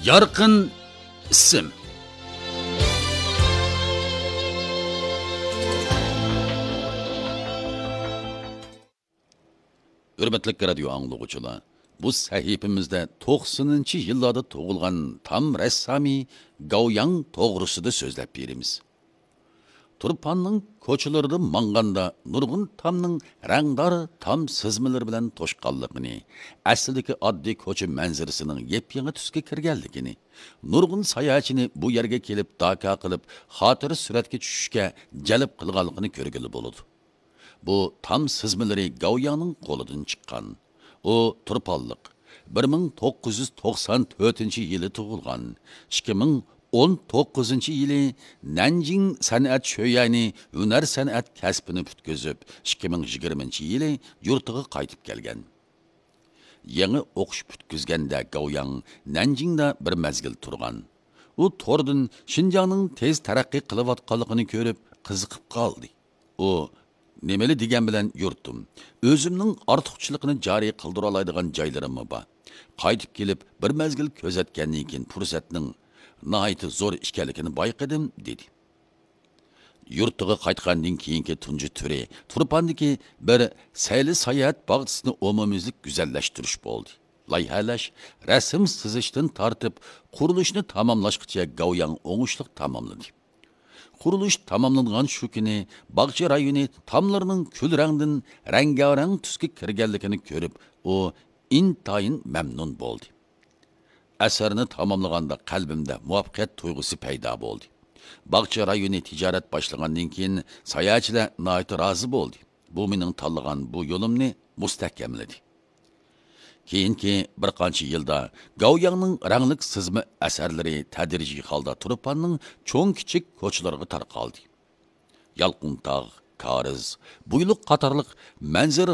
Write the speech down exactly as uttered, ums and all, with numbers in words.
يارقىن ئىسىم. ھۆرمەتلىك رادىيو ئاڭلىغۇچىلار، بۇ سەھىپىمىزدە توقسىنىنچى يىللاردا تۇغۇلغان تام رەسسامى گاۋياڭ توغرىسىدا سۆزلەپ بېرىمىز. تۇرپاننىڭ كوچىلىرىدا ماڭغاندا نۇرغۇن تامنىڭ رەڭدار تام سىزمىلىرى بىلەن توشقانلىقىنى، ئەسلىدىكى ئاددىي كوچا مەنزىرىسىنىڭ يېپيېڭى تۈسكە كىرگەنلىكىنى، نۇرغۇن ساياھەتچىنى بۇ يەرگە كېلىپ داكا قىلىپ خاتىرە سۈرەتكە چۈشۈشكە جەلپ قىلغانلىقىنى كۆرگىلى بولىدۇ. بۇ تام سىزمىلىرى گاۋياڭنىڭ قولىدىن چىققان. ئۇ تۇرپانلىق، بىر مىڭ توققۇز يۈز توقسان تۆتىنچى يىلى تۇغۇلغان، ئىككى مىڭ ئون توققۇزىنچى يىلى نەنجىڭ سەنئەت شۆيەنى ھۈنەر سەنئەت كەسپىنى پۈتكۈزۈپ، ئىككى مىڭ يىگىرمىنچى يىلى يۇرتىغا قايتىپ كەلگەن. يېڭى ئوقۇش پۈتكۈزگەندە گاۋياڭ نەنجىڭدا بىر مەزگىل تۇرغان. ئۇ توردىن شىنجاڭنىڭ تېز تەرەققىي قىلىۋاتقانلىقىنى كۆرۈپ قىزىقىپ قالدى. ئۇ نېمىلا دېگەن بىلەن يۇرتۇم، ئۆزۈمنىڭ ئارتۇقچىلىقىنى جارى قىلدۇرالايدىغان جايلىرىممۇ بار. قايتىپ كېلىپ بىر مەزگىل كۆزەتكەندىن كېيىن پۇرسەتنىڭ ناھايىتى زور ئىكەنلىكىنى بايقىدىم، دېدى. يۇرتىغا قايتقاندىن كېيىنكى تۇنجى تۈرى تۇرپاندىكى بىر سەيلە ساياھەت باغچىسىنى ئومۇميۈزلۈك گۈزەللەشتۈرۈش بولدى. لايىھەلەش، رەسىم سىزىشتىن تارتىپ قۇرۇلۇشنى تاماملاشقىچە گاۋياڭ ئوڭۇشلۇق تاماملىدى. قۇرۇلۇش تاماملانغان شۇ كۈنى باغچە رايونى تاملىرىنىڭ كۈل رەڭدىن رەڭگارەڭ تۈسكە كىرگەنلىكىنى كۆرۈپ، ئۇ ئىنتايىن مەمنۇن بولدى. ئەسەرنى تاماملىغاندا قەلبىمدە مۇۋەپپەقىيەت تۇيغۇسى پەيدا بولدى. باغچە رايونى تىجارەت باشلىغاندىن كېيىن ساياھەتچىلەر ناھايىتى رازى بولدى. بۇ مېنىڭ تاللىغان بۇ يولۇمنى مۇستەھكەملىدى. كېيىنكى بىر قانچە يىلدا گاۋياڭنىڭ رەڭلىك سىزما ئەسەرلىرى تەدرىجىي ھالدا تۇرپاننىڭ چوڭ-كىچىك كوچىلىرىغا تارقالدى. يالقۇنتاغ، كارىز، بۇيلۇق قاتارلىق مەنزىرە